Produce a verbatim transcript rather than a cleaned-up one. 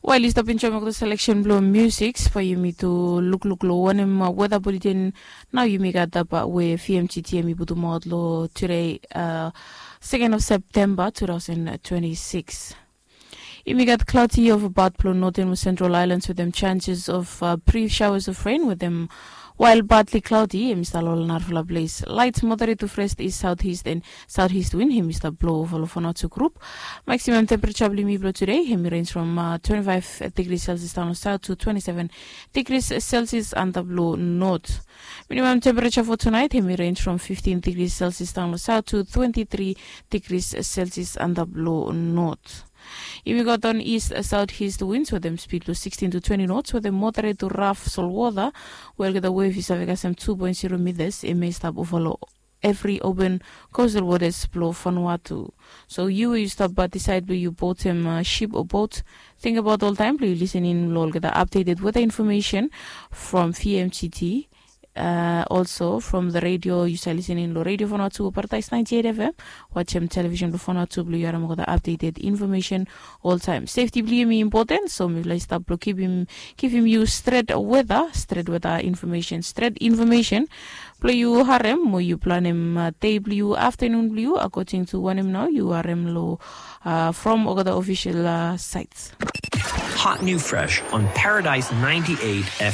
Wael yu stap enjoem olgeta seleksen blong musik, bae yumi tu lukluk long wanem weda buletin nao yumi gat, we V M G T M i putumaot long tude, second of September two thousand twenty-six. Yumi gat cloudy of about blong northern mo central islands wetem chances of brief showers of rain wetem wael partly cloudy, hem i stap long ol narafala ples. Light moderate to fresh east southeast and southeast wind hem i stap blong ova long Vanuatu group. Maximum temperature blong yumi blong tude hem i range from twenty-five degrees Celsius down long south to twenty-seven degrees Celsius antap long north. Minimum temperature for tonight hem i range from fifteen degrees Celsius down long south to twenty-three degrees Celsius antap long north. Yumi gat on east southeast winds wetem speed blong sixteen to twenty knots wetem moderate to rough solwota, we olgeta wave i save kasem two point zero meters, hem i stap ova long evri open coastal waters blong Vanuatu. So yu we yu stap disaed blong yu boatem ship o boat, tingbaot oltaem blong yu lisening long olgeta updated weather information from V M G T. Also from the radio, yu save lisening long Radio Vanuatu o Paradise ninety-eight F M. Wajem television blong Vanuatu blong yu harem olgeta updated information oltaem. Safety blong yumi important, so mifala i stap blong givim yu stret weather, stret weather information, stret information blong yu harem mo yu planem dei blong yu, aftanun blong yu, according to wanem nao yu harem long from olgeta official sites. Hot new fresh on Paradise ninety-eight F M.